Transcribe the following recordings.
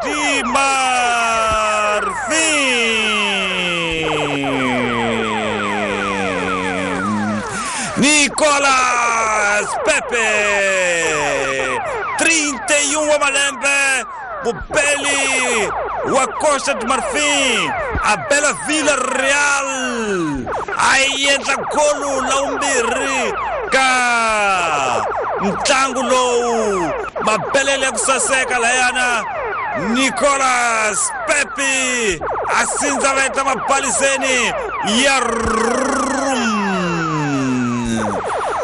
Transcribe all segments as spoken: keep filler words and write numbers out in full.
de Marfim. Nicolas Pepe, trinta e um Amalembe, Mubeli, wa Costa de Marfim, a bela Vila Real. Aí entra golo la umbiri ka ntlangu lowu mabelele ku saseka layana Nicolas Pepe asindza veta mabaliseni ya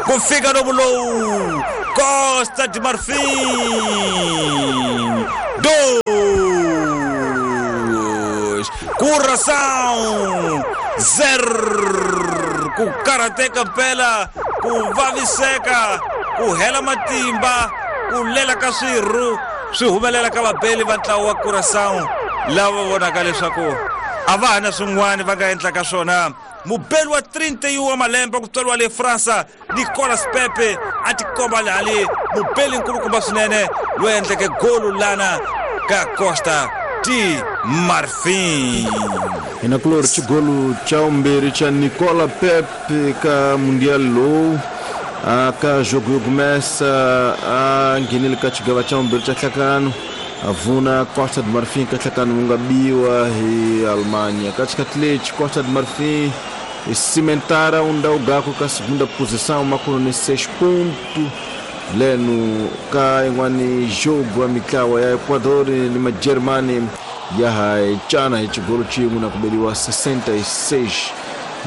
ku fika lomu lowu Costa de Marfim dois Curaçao zero ku karateka mpela ku vaviseka ku hela matimba ku lela ka swirhu swi humelela ka vabeli va ntlawa wa Curaçao lava vonaka leswaku a va ha na swin'wana va nga endlaka swona. Mubeli wa trinta e um wa malembe ku tswariwa le Fransa Nicolas Pepe a tikomba lali mubeli nkulukumba swinene loyi endleke golu lana ka Costa de Marfim. Ina kulori chigolu cha umbiri cha Nicola Pepe ka Mundial lowu ka jogo yo começa a nghenele ka xigava xa vumbirhi xa nhlakano a vuna Costa de Marfim ka nhlakano wu nga biwa hi Alemanha. Ka xikhathi lexi Costa de Marfim cimentara um ndhawu ka segunda posição makuno ni seis ponto leno ka yin'wani jogo wa mitlawa ya Ecuador ni ma Germany ya ha cana hi xigolo xin'we na ku beliwa sessenta e seis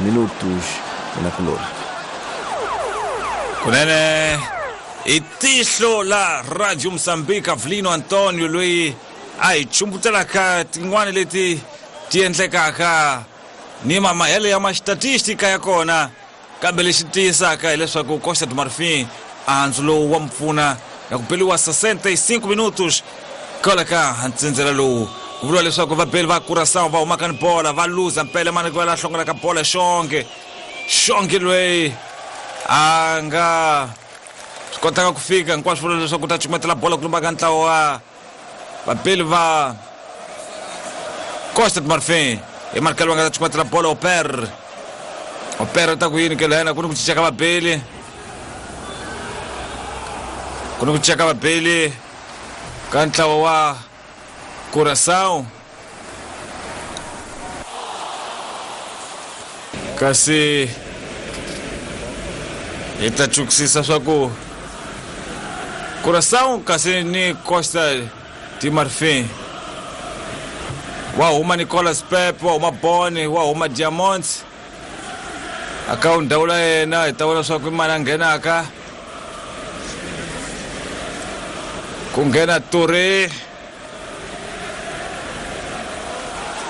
minutos na kulora. Kunene i tihlo la Radio Mozambique Avelino Antonio loyi a hi chumbutelaka tin'wani leti ti endlekaka ni mamahelo ya mastatistika ya kona, kambe lexi tiyisaka hileswaku Costa de Marfim andzu lowu wa mpfuna na ku beliwa sessenta e cinco minutos kwala ka ntsindzela lowu ku vuriwa leswaku vabeli va Curaçao va humaka ni bola va luza mpela mani ku va la hlongolaka bola xonge xonge loyi a nga swi kotaka ku fika hinkwaswo vula leswaku ta cukumetela bola ku lumba ka ntlawa wa vabeli va Costa de Marfim i markelo va nga ta cukumetela bola Oper Oper ta ku yini ke lena ku ni ku cinca ka vabeli ku ni ku cinca ka vabeli ka ntlawa wa Curaçao kasi hi ta chukisisa swa ku Curaçao kasi ni Costa de Marfim wa huma Nicolas Pepe wa huma Boni wa huma Diamonds aka ndhawu la yena hi ta vona swa ku i mani a nghenaka ku nghena Touré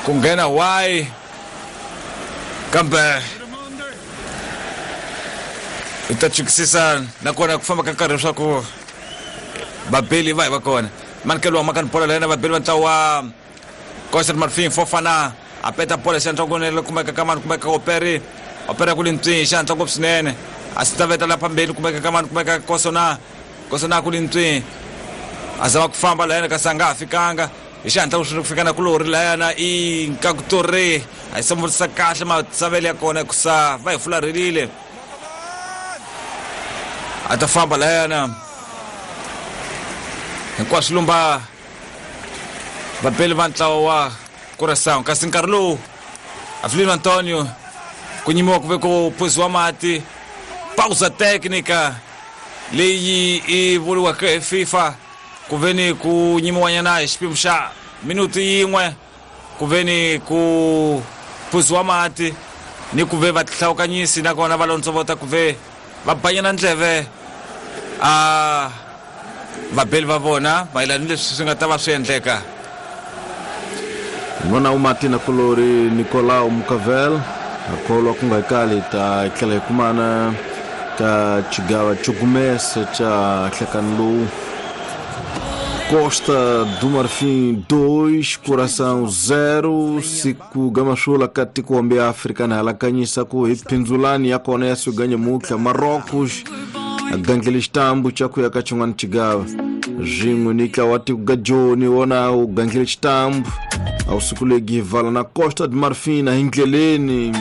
ku nghena Y kambe hi ta chukisisa nakona ku famba ka nkarhi leswaku vabeli va hi va kona manikelo wa makani bola la yena vabeli va ntlawa wa Costa de Marfim Fofana a peta bola xi kunene kumeka ka mani kumeka Operi Operi ku le ntswini xi hatla ngopfu swinene a swi ta veta la phambeni kumeka ka mani kumeka Kosona Kosona ku le ntswini a zama ku famba la yena kasi a nga ha fikanga hi xihatla ku fika na kulori la yena i Nkakutori a yi samurisa kahle matsavelo ya kona hikusa va hi fularhelile a ta famba la yena hinkwaswo lumba vabeli va ntlawa wa Curaçao kasi nkarhi lowu Avelino Antonio ku nyimiwa ku ve ku phuziwa mati pausa técnica leyi i vuriwaka hi FIFA ku ve ni ku nyimiwanyana hi xipimo xa minuti yin'we ku ve ni ku phuziwa mati ni ku ve va tihlawukanyisi nakona va lontsovota ku ve va banyana ndleve a vabeli va vona mayelana ni leswi swi nga ta va swi endleka. N'wana u mati na kulori Nicolau Mucavel a kholwa ku nga kali ta tlhela hi kumana ka xigava xo gumesa xa nhlekani lowu. Costa do Marfim dois, Curaçao zero. Siku gamasula ka tiko hambi Afrika na halakanyisa ku hi phindzulani ya kona ya suganya mutla Marrocos a gandlele xitambu xa ku ya ka xin'wana xigava. Swin'we ni ntlawa wa tiko ga Joni wona wu gandlile xitambu a wu sukulegi vala na Costa de Marfin hi ndleleni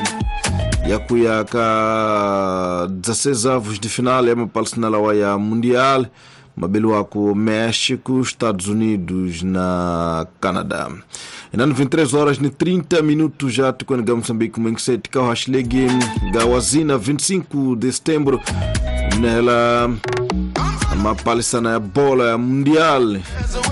ya ku ya ka dezesseis avos de final ya mapalisana lawa ya Mundial mabeliwako México, Estados Unidos na Canadá. Inani vinte e três horas e trinta minutos já tikweni ga Moçambique mwengiseti ka hashlegi ga wazina vinte e cinco de setembro nela mapalisana ya bola ya Mundial.